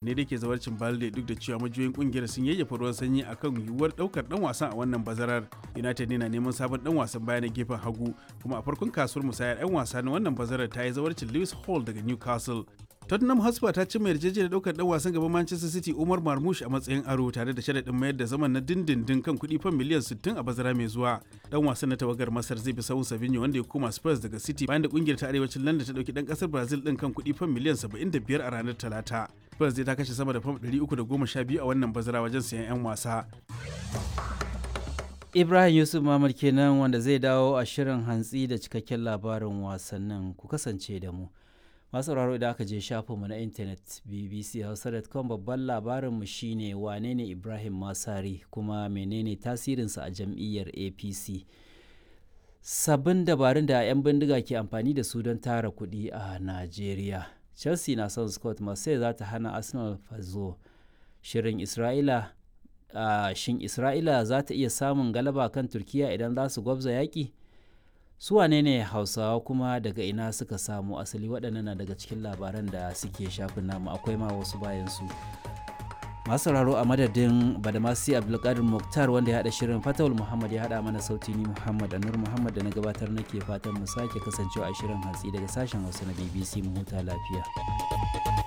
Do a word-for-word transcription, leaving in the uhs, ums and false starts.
Ne da ke zawarcin Balde, duk da cewa majiyoyin kungiyar sun yayyafa ruwan sanyi akan yiwuwar daukar dan wasan a wannan bazarar. United ne na neman sabon dan wasan baya na gefen hagu, kuma a farkon kasuwar musayar 'yan wasa na wannan bazarar ta yi zawarcin Lewis Hall daga Newcastle. Tottenham Hotspur ta cimma yarjejeniyar daukar dan wasan gaban Manchester City Umar Marmoush a matsayin aro, tare da sharaɗin mayar da zaman na dindindin kan kuɗi fan miliyan sittin a bazara mai zuwa. Dan wasan na tawagar Masar zai bi sahun Savinho, wanda ya koma Spurs daga City bayan da kungiyar ta arewacin London ta dauki dan kasar Brazil din kan kuɗi fan miliyan saba'in da biyar a ranar Talata. Spurs zai ta kashe sama da fam ɗari uku da goma sha biyu a wannan bazara wajen sayan 'yan wasa. Ibrahim Yusuf Mamad kenan, wanda zai dawo a shirin hantsi da cikakken labarin wasannin. Ku kasance da mu. Masu sauraro, idan aka je shafinmu na intanet B B C hausa dot com, babban labarinmu shine wane ne Ibrahim Masari kuma menene tasirinsa a jam'iyyar A P C. Sabbin dabarun da 'yan bindiga ke amfani da su don tara kuɗi a Najeriya. Chelsea na son Scott, Marseille za ta hana Arsenal fazo. Shirin Isra'ila uh, shin Isra'ila za ta iya samun galaba kan Turkiya idan za su gwabza yaƙi? Su wane ne Hausawa kuma daga ina suka samu asali? Waɗannan na daga cikin labaran da suke shafin namu, akwai ma wasu bayan su. Masu sauraro, a madadin Badamasi Abdulkadir Muktar wanda ya haɗa shirin, Fatawul Muhammad ya haɗa mana sauti, ni Muhammad Anur Muhammad da na gabatar nake fatan mu sake kasancewa a shirin hantsi daga sashen Hausa na B B C. Mu huta lafiya.